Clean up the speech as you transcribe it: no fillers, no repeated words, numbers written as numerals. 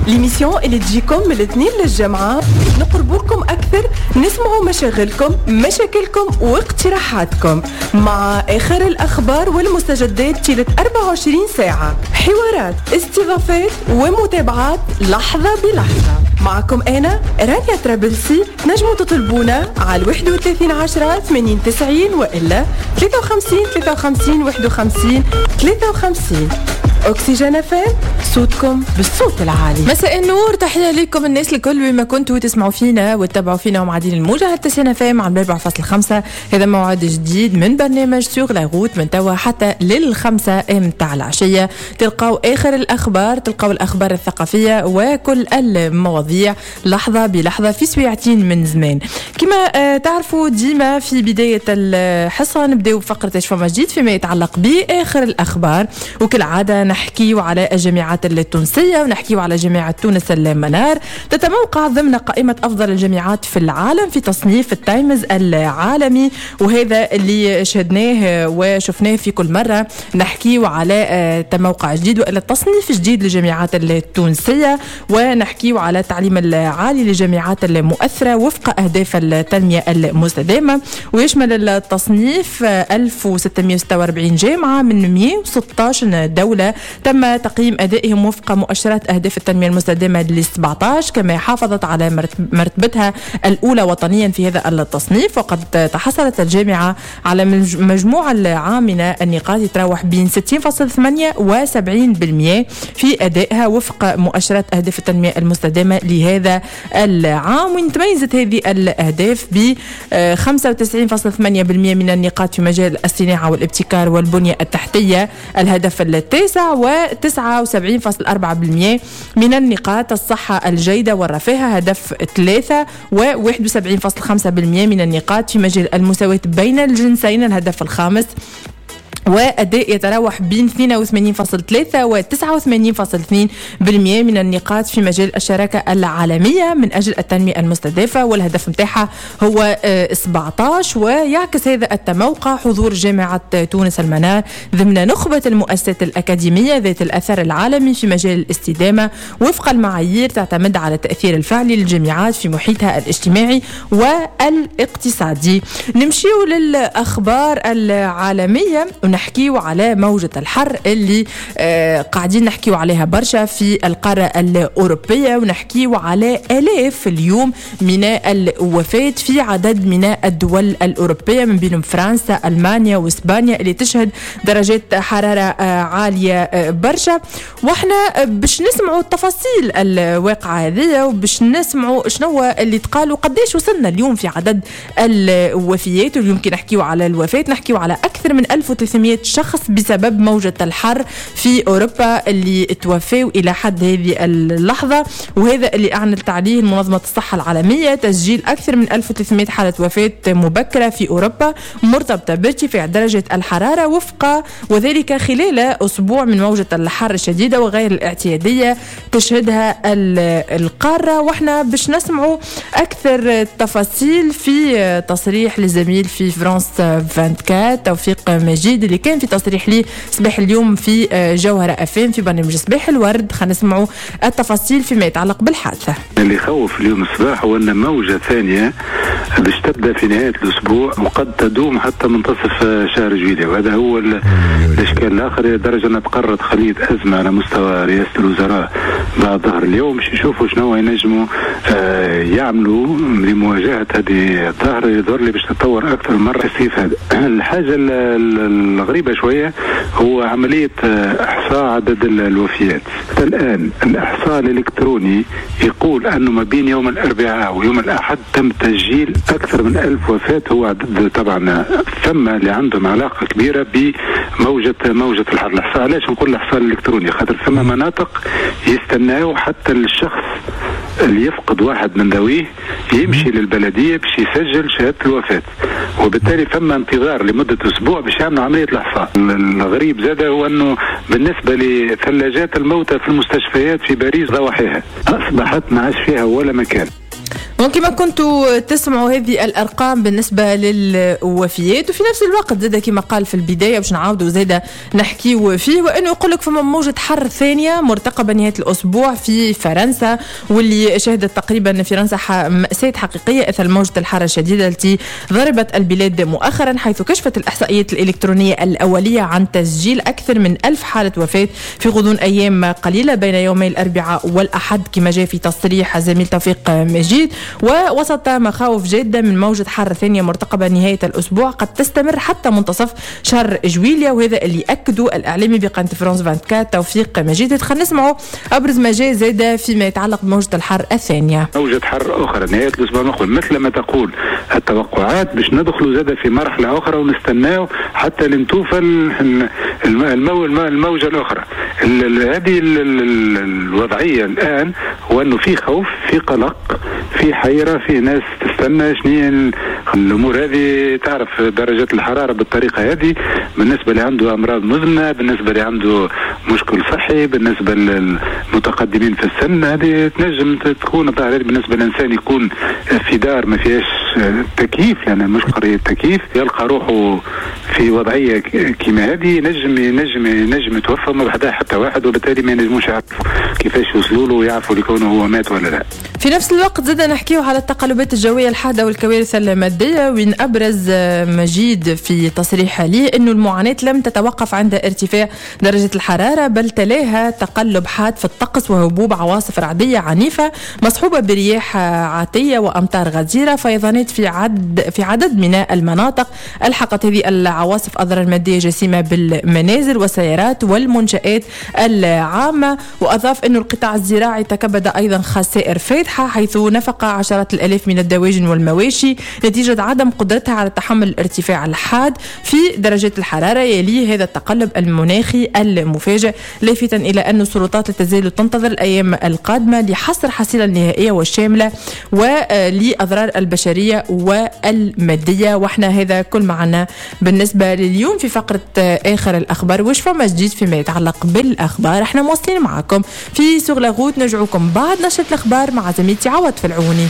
l'émission اللي تجيكم من الاثنين للجمعة، نقربوا لكم أكثر، نسمعوا مشاغلكم، مشاكلكم واقتراحاتكم مع آخر الأخبار والمستجدات طيلة 24 ساعة، حوارات، استضافات ومتابعات لحظة بلحظة. معكم أنا رانيا ترابلسي. نجموا تطلبونا على 31 10 80 90 وإلا 53 53 51 53. أكسجين FM، صوتكم بالصوت العالي. مساء النور، تحية لكم الناس الكل وين ما كنتوا تسمعوا فينا وتتابعوا فينا ومعدين الموجة 90 FM على 4.5. هذا موعد جديد من برنامج sur la route من توا حتى للخمسة متاع العشية. تلقاو آخر الأخبار، تلقاو الأخبار الثقافية وكل المواضيع لحظة بلحظة في سويعتين من زمان. كما تعرفوا ديما في بداية الحصة نبداو بفقرة اش فما جديد فيما يتعلق بآخر الأخبار، وكالعادة نحكيو على الجامعات التونسية ونحكيو على جامعة تونس المنار تتموقع ضمن قائمة أفضل الجامعات في العالم في تصنيف التايمز العالمي، وهذا اللي شهدناه وشفناه في كل مرة نحكيو على تموقع جديد وإلى تصنيف جديد للجامعات التونسية، ونحكيو على التعليم العالي للجامعات المؤثرة وفق أهداف التنمية المستدامة. ويشمل التصنيف 1646 جامعة من 116 دولة تم تقييم أدائهم وفق مؤشرات أهداف التنمية المستدامة لل 17، كما حافظت على مرتبتها الأولى وطنيا في هذا التصنيف. وقد تحصلت الجامعة على مجموع العام من النقاط يتراوح بين 60.8 و 70% في أدائها وفق مؤشرات أهداف التنمية المستدامة لهذا العام، وإن تميزت هذه الأهداف ب 95.8% من النقاط في مجال الصناعة والابتكار والبنية التحتية الهدف التاسع، و 79.4% من النقاط الصحة الجيدة والرفاهة هدف 3، و 71.5% من النقاط في مجال المساواة بين الجنسين الهدف الخامس، وأداء يتراوح بين 82.3 و 89.2% من النقاط في مجال الشراكة العالمية من أجل التنمية المستهدفة، والهدف متاعها هو 17. ويعكس هذا التموقع حضور جامعة تونس المنار ضمن نخبة المؤسسات الأكاديمية ذات الأثر العالمي في مجال الاستدامة وفق المعايير تعتمد على التأثير الفعلي للجامعات في محيطها الاجتماعي والاقتصادي. نمشيو للأخبار العالمية ونحكيو على موجة الحر اللي قاعدين نحكيو عليها برشا في القارة الأوروبية، ونحكيو على آلاف اليوم من الوفاة في عدد من الدول الأوروبية من بينهم فرنسا، ألمانيا وإسبانيا اللي تشهد درجات حرارة عالية برشا. واحنا باش نسمعوا التفاصيل الواقعة هذه وباش نسمعوا شنو اللي تقالوا قداش وصلنا اليوم في عدد الوفيات. واليوم كي نحكيو على الوفاة نحكيو على أكثر من 1300 شخص بسبب موجة الحر في أوروبا اللي توفوا إلى حد هذه اللحظة، وهذا اللي أعلنت عليه منظمة الصحة العالمية، تسجيل أكثر من 1300 حالة وفاة مبكرة في أوروبا مرتبطة بارتفاع درجة الحرارة وفق وذلك خلال أسبوع من موجة الحر الشديدة وغير الاعتيادية تشهدها القارة. وإحنا باش نسمعوا أكثر تفاصيل في تصريح لزميل في فرانس 24 توفيق مجيد اللي كان في تصريح لي صباح اليوم في جوهرة FM في برنامج صباح الورد. خلينا نسمعوا التفاصيل فيما يتعلق بالحادثة. اللي يخوف اليوم الصباح هو أن موجة ثانية باش تبدأ في نهاية الأسبوع وقد تدوم حتى منتصف شهر جويلية، وهذا هو الإشكال الآخر، لدرجة أن تقررت خلية أزمة على مستوى رئاسة الوزراء بعد ظهر اليوم باش يشوفوا شنو ينجموا يعملوا لمواجهة هذه الظاهرة. يظهر لي باش تتطور أكثر مرة الصيف هذا. الحاجة الغريبة شوية هو عملية إحصاء عدد الوفيات. الآن الإحصاء الإلكتروني يقول أنه ما بين يوم الأربعاء ويوم الأحد تم تسجيل أكثر من 1000 وفاة. هو عدد طبعا ثم اللي عندهم علاقة كبيرة بموجة الحر. الإحصاء علاش نقول الإحصاء الإلكتروني؟ خاطر ثم مناطق يستناو حتى الشخص اللي يفقد واحد من ذويه يمشي للبلدية باش يسجل شهادة الوفاة، وبالتالي ثم انتظار لمدة أسبوع باش يعملوا عملية الإحصاء. الغريب زاد هو أنه بالنسبة لثلاجات الموتى في المستشفيات في باريس ضواحيها أصبحت ما عادش فيها ولا مكان. donc كما كنتوا تسمعوا هذه الارقام بالنسبة للوفيات، وفي نفس الوقت زاد كما قال في البداية باش نعاودوا زاد نحكيو فيه، وانه يقول لك فما موجه حر ثانية مرتقبه نهاية الاسبوع في فرنسا، واللي شهدت تقريبا فرنسا مأساة حقيقية اثر موجه الحرارة الشديدة التي ضربت البلاد مؤخرا، حيث كشفت الاحصائيات الالكترونية الاولية عن تسجيل اكثر من 1000 حاله وفاه في غضون ايام قليله بين يومي الاربعاء والاحد، كما جاء في تصريح زميل توفيق مجيد. ووسط مخاوف جادة من موجة حر ثانية مرتقبة نهاية الأسبوع قد تستمر حتى منتصف شهر جويليا، وهذا اللي أكدوا الإعلامي بقناة فرانس 24 توفيق مجيد. خلينا نسمعوا أبرز ما جاء زاد فيما يتعلق بموجة الحر الثانية. موجة حر أخرى نهاية الأسبوع المقبل مثل ما تقول التوقعات، باش ندخلوا زاد في مرحلة أخرى ونستناو حتى لنتوفى الموجة الأخرى. هذه الوضعية الآن هو أنه في خوف، في قلق، في حيرة، في ناس تستنى شنو الأمور هذه. تعرف درجة الحرارة بالطريقة هذه بالنسبة اللي عنده أمراض مزمنة، بالنسبة اللي عنده مشكل صحي، بالنسبة للمتقدمين في السن، هذه تنجم تكون ظاهرة. بالنسبة للإنسان يكون في دار ما فيهاش تكييف، يعني مش قرية تكييف، يلقى روحه في وضعية كيما هذه ينجم ينجم ينجم يتوفى ما بحداه حتى واحد، وبالتالي ما ينجموش يعرفوا كيفاش يوصلوا له ويعرفوا لكونه هو مات ولا لا. في نفس الوقت زاد نحكيو على التقلبات الجوية الحادة والكوارث المادية، وين أبرز مجيد في تصريح ليه أنه المعاناة لم تتوقف عند ارتفاع درجة الحرارة، بل تلاها تقلب حاد في الطقس وهبوب عواصف رعدية عنيفة مصحوبة برياح عاتية وأمطار غزيرة، فيضانات في عدد من المناطق. ألحقت هذه العواصف أضرار مادية جسيمة بالمنازل والسيارات والمنشآت العامة. وأضاف أن القطاع الزراعي تكبد أيضا خسائر فادحة، حيث نفق عشرات الآلاف من الدواجن والمواشي نتيجة عدم قدرتها على تحمل الارتفاع الحاد في درجات الحرارة، يلي هذا التقلب المناخي المفاجئ، لافتا إلى أن السلطات لا تزال تنتظر الأيام القادمة لحصر حصيلة النهائية والشاملة ولأضرار البشرية والمادية. واحنا هذا كل معنا بالنسبة لليوم في فقرة آخر الأخبار. وش فما جديد فيما يتعلق بالأخبار؟ احنا مواصلين معكم في sur la route، نرجعوكم بعد نشرة الأخبار مع زميلتي عوض في العوني.